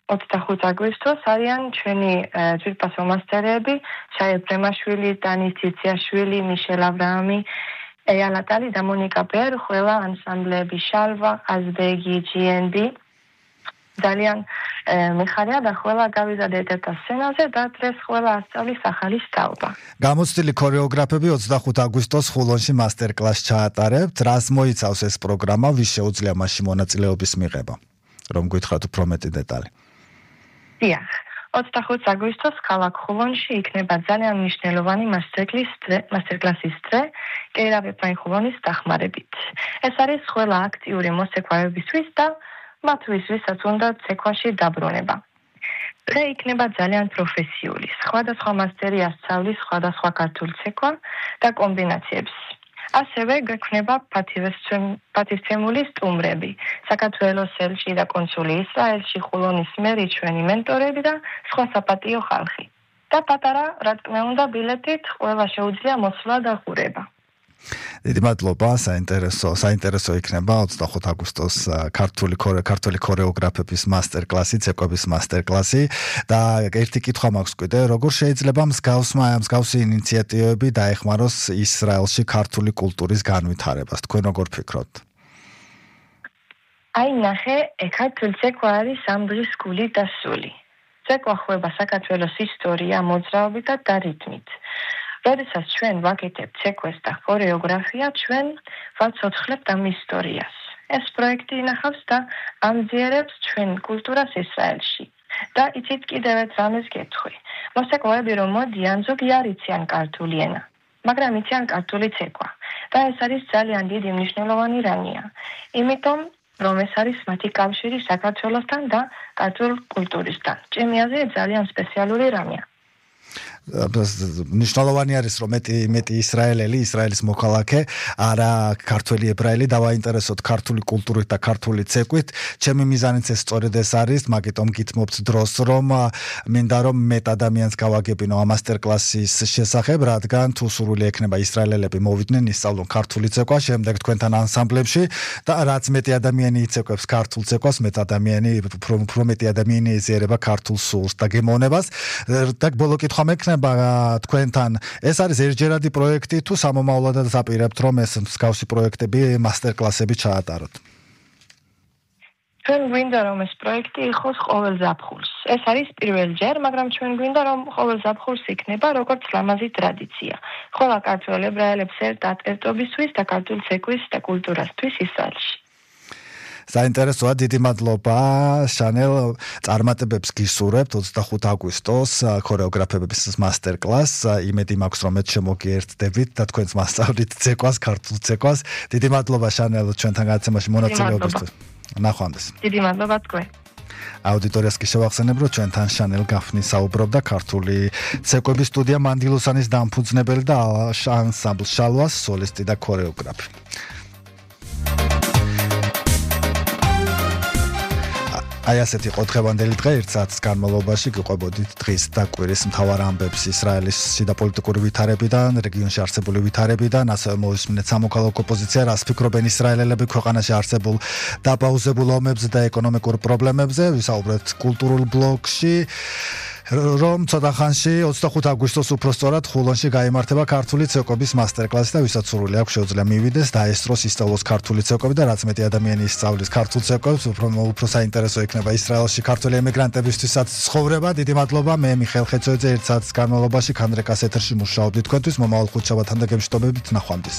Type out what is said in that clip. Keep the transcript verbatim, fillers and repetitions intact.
ოცდახუთი აგვისტოს არიან ჩვენი ძვირფასო მასტერები, შაი ბრემაშვილი, დანის ციციაშვილი, მიშელ აბრაამი, ეალა ტალი და მონიკა ბერ, ყველა ანსამბლები შალვა, აზბეგი, ჯიენ ბი. ძალიან მიხარია და ყველა გავიზარდეთ ერთ სცენაზე და დღეს ყველა ასწავლის ახალი სწავლა. გამოცდილი ქორეოგრაფები ოცდახუთი აგვისტოს ხულონში მასტერკლასს ჩაატარებთ. რას მოიცავს ეს პროგრამა, ვის შეუძლია მასში მონაწილეობის მიღება? რომ გითხრათ უფრო მეტი დეტალი. დიახ, ოცდახუთი აგვისტოს ქალაქ ხულონში იქნება ძალიან მნიშვნელოვანი მასტერკლასის დღე კეირავებთან ხულონის დახმარებით. ეს არის ყველა აქტიური მოსექვავებისთვის და მათთვის, ვისაც უნდა ცეკვაში დაბრუნება. დღე იქნება ძალიან პროფესიული. სხვადასხვა მასტერი ასწავლის სხვადასხვა ქართულ ცეკვა და კომბინაციებს. ასევე გვექნება პატივცემული სტუმრები, საქართველოს ელჩი და კონსული ისრაელში, ხულონის მერი, ჩვენი მენტორები და სხვა საპატიო ხალხი. და პატარა, რა თქმა უნდა, ბილეთით ყველა შეუძლია მოსვლა და ყურება. დიდი მადლობა, საინტერესო, საინტერესო იქნება ოცდახუთი აგვისტოს ქართული ქართული ქორეოგრაფების მასტერკლასი, ცეკვების მასტერკლასი და ერთი კითხვა მაქვს კიდე, როგორ შეიძლება მსგავსმა მსგავსი ინიციატივები დაეხმაროს ისრაელში ქართული კულტურის განვითარებას? თქვენ როგორ ფიქრობთ? აი ნახე, ქართული ცეკვა არის ამბრის გული და სული. ცეკვა ხვება საქართველოს ისტორია, მოძრაობით და რიტმით. როდესაც ჩვენ ვაკეთებთ ცეკვას და ქორეოგრაფია, ჩვენ ვაცოცხლებთ ამ ისტორიას. ეს პროექტი ინახავს და ამძიერებს ჩვენ კულტურას ისრაელში. და იცით კიდევ ერთ რამეს გეტყვი. მოსაკვები რომ მოდიან, ზოგი არ იციან ქართული ენა, მაგრამ იციან ქართული ცეკვა. და ეს არის ძალიან დიდი მნიშვნელოვანი რამეა. იმიტომ რომ ეს არის მათი კავშირი საქართველოსთან და ქართულ კულტურისთან. ჩემი აზრით ძალიან სპეციალური რამეა. მნიშვნელოვანი არის რომ მეტი მეტი ისრაელელი, ისრაელის მოქალაქე, არა ქართველი ებრაელი დავაინტერესოთ ქართული კულტურით და ქართული ცეკვით. ჩემი მიზანიც ეს სწორედ ეს არის, მაგიტომ გითმობთ დროს რომ მინდა რომ მეტ ადამიანს გავაგებინო ამ მასტერკლასის შესახებ, რადგან თუ სურვილი ექნება ისრაელელები მოვიდნენ ისწავლონ ქართული ცეკვა, შემდეგ თქვენთან ანსამბლებში და რაც მეტი ადამიანი იცეკვებს ქართულ ცეკვას, მეტ ადამიანი უფრო მეტი ადამიანი ეზიარება ქართულ სულს და გემოვნებას. და ბოლო კითხვა მექნება თქვენთან, ეს არის ერთჯერადი პროექტი თუ სამომავლოდაც აპირებთ რომ ეს მსგავსი პროექტები, მასტერკლასები ჩაატაროთ? ჩვენ გვინდა რომ ეს პროექტი იყოს ყოველ ზაფხულს. ეს არის პირველ ჯერ, მაგრამ ჩვენ გვინდა რომ ყოველ ზაფხულს იქნება როგორც ლამაზი ტრადიცია. ყველა ქართველ ებრაელებს ერთად ერთობისთვის და ქართულ ცეკვის და კულტურასთვის ისრაელში. საინტერესოა, დიდი მადლობა შანელ, წარმატებებს გისურვებთ ოცდახუთი აგვისტოს ქორეოგრაფების მასტერკლასს. იმედი მაქვს რომ მეც შემოგიერთდებით და თქვენს მასწავლით ცეკვას, ქართულ ცეკვას. დიდი მადლობა შანელ ჩვენთან გადაცემაში მონაწილეობისთვის. ნახვამდის. დიდი მადლობა თქვენ. აუდიტორიას კი შევახსენებ, რომ ჩვენთან შანელ გაფნი საუბრობდა ქართული ცეკვების სტუდია მანდილოსანის დამფუძნებელი და ანსამბლ შალვას სოლისტი და ქორეოგრაფი. აი ასეთი იყო დღევანდელი დღე, ერთ საათის განმავლობაში გიყვებოდით დღის და კვირის მთავარ ამბებს ისრაელის შიდა პოლიტიკური ვითარებიდან, რეგიონში არსებული ვითარებიდან, ასევე მოვისმინეთ სამოქალაქო პოზიცია, რას ფიქრობენ ისრაელელები ქვეყანაში არსებულ დაპაუზებულ ომებზე და ეკონომიკურ პრობლემებზე, ვისაუბრეთ კულტურულ ბლოკში. რომ ცოტა ხანში ოცდახუთი აგვისტოს უпроსწორად ხულონში გაიმართება ქართული ცეკვების მასტერკლასი და ვისაც სურვილი აქვს შეუძლია მივიდეს და ესწროს ისწავლოს ქართული ცეკვები და რაც მეტი ადამიანი ისწავლის ქართულ ცეკვებს, უფრო უფრო საინტერესო იქნება ისრაელში ქართული ემიგრანტებისთვისაც ცხოვრება. დიდი მადლობა, მე მიხეილ ხეცოიძე, ერთ საათის განმავლობაში ქანდრეკას ეთერში მუშაობდი თქვენთვის. მომავალ ხუთშაბათამდე გემშვიდობებით, ნახვამდის.